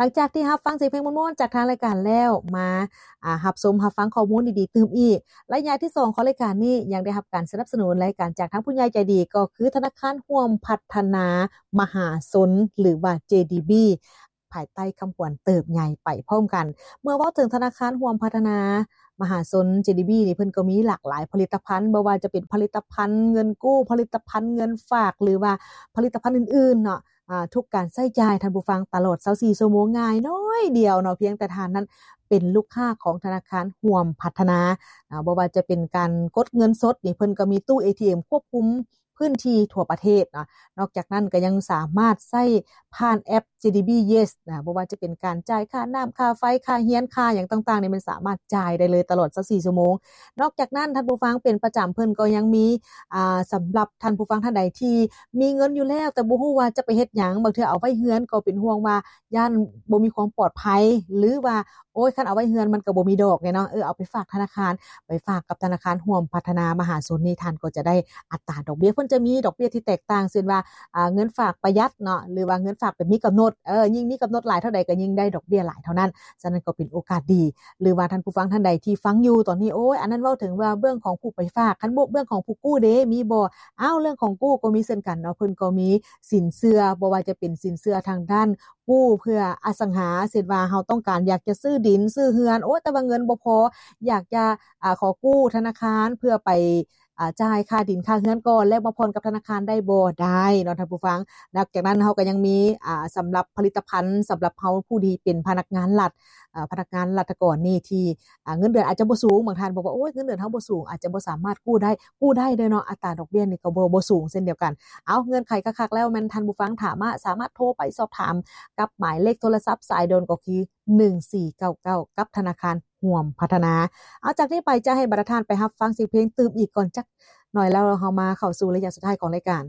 ຫຼັງຈາກທີ່ຮັບຟັງສຽງເພງມ່ວນໆຈາກທາງລາຍການແລ້ວ ມາ ອາ ຮັບຊົມຮັບຟັງຂໍ້ມູນດີໆຕື່ມອີກ. ໄລຍະທີສອງຂອງລາຍການນີ້ ຍັງໄດ້ຮັບການສະໜັບສະໜູນລາຍການຈາກທາງຜູ້ໃຫຍ່ໃຈດີ ກໍຄືທະນາຄານຮ່ວມພັດທະນາມະຫາຊົນ ຫຼືວ່າ ເຈດີບີ ພາຍໃຕ້ຄຳຂວັນເຕີບໃຫຍ່ໄປພ້ອມກັນ. ເມື່ອເວົ້າເຖິງທະນາຄານຮ່ວມພັດທະນາມະຫາຊົນ ເຈດີບີ ນີ້ ເພິ່ນກໍມີຫຼາກຫຼາຍຜະລິດຕະພັນ ບໍ່ວ່າຈະເປັນຜະລິດຕະພັນເງິນກູ້, ຜະລິດຕະພັນເງິນຝາກ ຫຼືວ່າຜະລິດຕະພັນອື່ນໆເນາະ ອາ ທຸກການໃຊ້ຈ່າຍ ທ່ານຜູ້ຟັງ ຕະຫຼອດຊາວສີ່ຊົ່ວໂມງ ງ່າຍໜ້ອຍດຽວເນາະ ພຽງແຕ່ທ່ານນັ້ນເປັນລູກຄ້າຂອງທະນາຄານຮ່ວມພັດທະນາ. ອາ ບໍ່ວ່າຈະເປັນການກົດເງິນສົດນີ້ ເພິ່ນກໍມີຕູ້ເອທີເອັມຄວບຄຸມພື້ນທີ່ທົ່ວປະເທດເນາະ. ນອກຈາກນັ້ນກໍຍັງສາມາດໃຊ້ຜ່ານແອັບ ເຈດີບີ ເຢສ ນະ ບໍ່ວ່າຈະເປັນການຈ່າຍຄ່ານ້ຳ, ຄ່າໄຟ, ຄ່າຮຽນ, ຄ່າຫຍັງຕ່າງໆນີ້ ມັນສາມາດຈ່າຍໄດ້ເລີຍຕະຫຼອດຊາວສີ່ຊົ່ວໂມງ. ນອກຈາກນັ້ນ ທ່ານຜູ້ຟັງ ເປັນປະຈຳ ເພິ່ນກໍຍັງມີ ອ່າ ສຳລັບທ່ານຜູ້ຟັງທ່ານໃດທີ່ມີເງິນຢູ່ແລ້ວ ແຕ່ບໍ່ຮູ້ວ່າຈະໄປເຮັດຫຍັງ, ບາງເທື່ອເອົາໄວ້ເຮືອນກໍເປັນຫ່ວງວ່າຢ້ານບໍ່ມີຄວາມປອດໄພ ຫຼືວ່າ ໂອ້ຍ ຄັນເອົາໄວ້ເຮືອນມັນກໍບໍ່ມີດອກແນ່ເນາະ, ເອີ ເອົາໄປຝາກທະນາຄານ, ໄປຝາກກັບທະນາຄານຮ່ວມພັດທະນາມະຫາຊົນນີ້ ທ່ານກໍຈະໄດ້ອັດຕາດອກເບ້ຍ, ເພິ່ນຈະມີດອກເບ້ຍທີ່ແຕກຕ່າງ ເຊັ່ນວ່າ ອ່າ ເງິນຝາກປະຢັດເນາະ ຫຼືວ່າເງິນຝາກແບບມີກຳນົດ, ເອີ ຍິ່ງມີກຳນົດຫຼາຍເທົ່າໃດກໍຍິ່ງໄດ້ດອກເບ້ຍຫຼາຍເທົ່ານັ້ນ. ສະນັ້ນກໍເປັນໂອກາດດີ ຫຼືວ່າທ່ານຜູ້ຟັງທ່ານໃດທີ່ຟັງຢູ່ຕອນນີ້, ໂອ້ຍ ອັນນັ້ນເວົ້າເຖິງວ່າເບື້ອງຂອງຜູ້ໄປຝາກ, ຄັນບໍ່ເບື້ອງຂອງຜູ້ກູ້ເດ ມີບໍ່? ອ້າວ ເລື່ອງຂອງກູ້ກໍມີເຊັ່ນກັນເນາະ, ເພິ່ນກໍມີສິນເຊື່ອ ບໍ່ວ່າຈະເປັນສິນເຊື່ອທາງດ້ານ ກູ້ເພື່ອອະສັງຫາ, ເຊັ່ນວ່າເຮົາຕ້ອງການຢາກຈະຊື້ດິນ, ຊື້ເຮືອນ, ໂອ້ ແຕ່ວ່າເງິນບໍ່ພໍ, ຢາກຈະ ອາ ຂໍກູ້ທະນາຄານເພື່ອໄປ ອາ ຈ່າຍຄ່າດິນຄ່າເຮືອນກ່ອນ ແລ້ວມາຜ່ອນກັບທະນາຄານໄດ້ບໍ່? ໄດ້ເນາະທ່ານຜູ້ຟັງ. ນອກຈາກນັ້ນເຮົາກໍຍັງມີ ອາ ສຳລັບຜະລິດຕະພັນ ສຳລັບເຮົາຜູ້ທີ່ເປັນພະນັກງານລັດ, ອາ ພະນັກງານລັດຖະກອນນີ້ທີ່ ອາ ເງິນເດືອນອາດຈະບໍ່ສູງ, ບາງທ່ານບອກວ່າ ໂອ້ຍ ເງິນເດືອນເຮົາບໍ່ສູງ ອາດຈະບໍ່ສາມາດກູ້ໄດ້, ກູ້ໄດ້ເດີເນາະ, ອັດຕາດອກເບ້ຍນີ້ກໍບໍ່ ບໍ່ສູງເຊັ່ນດຽວກັນ. ເອົາ ເງື່ອນໄຂຄັກໆແລ້ວ ແມ່ນທ່ານຜູ້ຟັງ ຖ້າມາ ສາມາດໂທໄປສອບຖາມກັບໝາຍເລກໂທລະສັບສາຍດ່ວນ ກໍຄື ໜຶ່ງສີ່ເກົ້າເກົ້າ ກັບທະນາຄານຮ່ວມພັດທະນາ. ເອົາ ຈາກນີ້ໄປຈະໃຫ້ບັນດາທ່ານໄປຮັບຟັງສຽງເພງຕື່ມອີກກ່ອນຈັກໜ້ອຍ ແລ້ວເຮົາມາເຂົ້າສູ່ໄລຍະສຸດທ້າຍຂອງລາຍການ.